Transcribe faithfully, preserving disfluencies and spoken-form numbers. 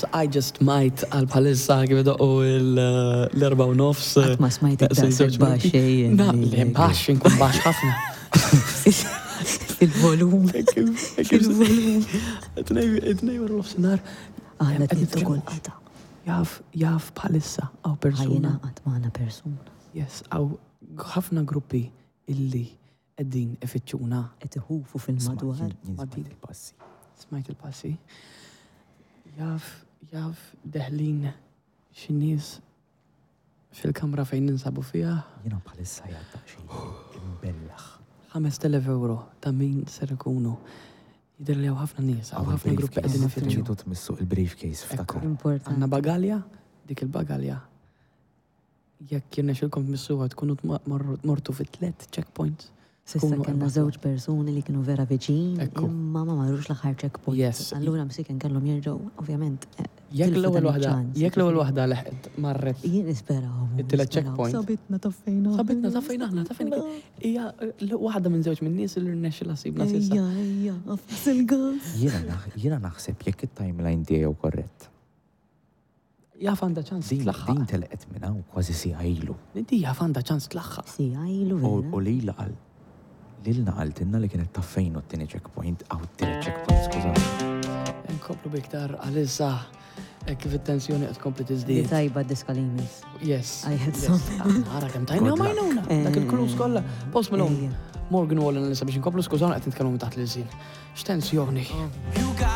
Yes, I just might għal bħalissa kif idoqqu l-erba u nofs. Qatt ma smajtek Daqs daqshekk żewġ minuti. baxx, ejjen. Na, le baxx, inkun baxx ħafna. Il-volum. Il-volum. It-tnejn wara nofsinhar. Aħna Qed trid nitkellmu. ukoll qata. Jaf, jaf bħalissa hawn persuna. Ħajjina qatt magħna persuna. Yes, hawn ħafna gruppi illi qegħdin ifittxuna. Qed iħufu fil-madwar. Jien smajt il-passi. Smajt il-passi. Jaf, jaf deħlin xi nies fil-kamra fejn ninsabu fiha. Jiena bħalissa jgħadda xejn imbellaħ. ħamest elef euro ta' min ser ikunu. Jidher li hawn ħafna nies, hawn ħafna gruppi qegħdin ifittxu. Tridu tmissu il-briefcase, ftakar. Importanti. Għandna bagalja, dik il-bagalja. Jekk jirnexxilkom tmissuha, tkunu tma- morru- mortu fit tlet checkpoints. S'issa Tkunu kellna erbaħtu. żewġ persuni li kienu vera viċin, Ekku. imma ma marrux l-aħħar checkpoint. Yes. Allura msiken kellhom jerġgħu, ovvjament. eh, Jekk tilfu l-ewwel dan waħda, iċ-ċans, jekk l-ewwel jiġifieri. waħda leħqet marret Jien nisperaw. It-tielet nisperaw. checkpoint. Sabitna taffejna. Sabitna, taffejna aħna, taffejna. Hija eh, waħda minn żewġ minn nies li rnexxilha ssibna s'issa. Ejja, ejja, affas il-gas. Jiena naħ- Jiena naħseb jekk it-timeline tiegħu korrett. Jaf għandha ċans Din tlaħħaq. din telqet minn hawn kważi siegħa ilu. Inti jaf għandha ċans tlaħħaq. Si, għajlu U vera. u lila qal lilna qaltilna li kienet taf fejn hu t-tieni checkpoint, aw t-tielet checkpoint, skużani. Nkomplu biktar għalissa hekk kif it-tensjoni qed tkompli Di tiżdied. tajba diska li jmiss. Yes. I had yes. some. Ara kemm tajna Good luck. għajnuna. Dak il-clues kollha. Post Malone. Ejja. Morgan Wallen għalissa biex nkomplu, skużawna, qed nitkellmu taħt l-ilsien. X'tensjoni. You got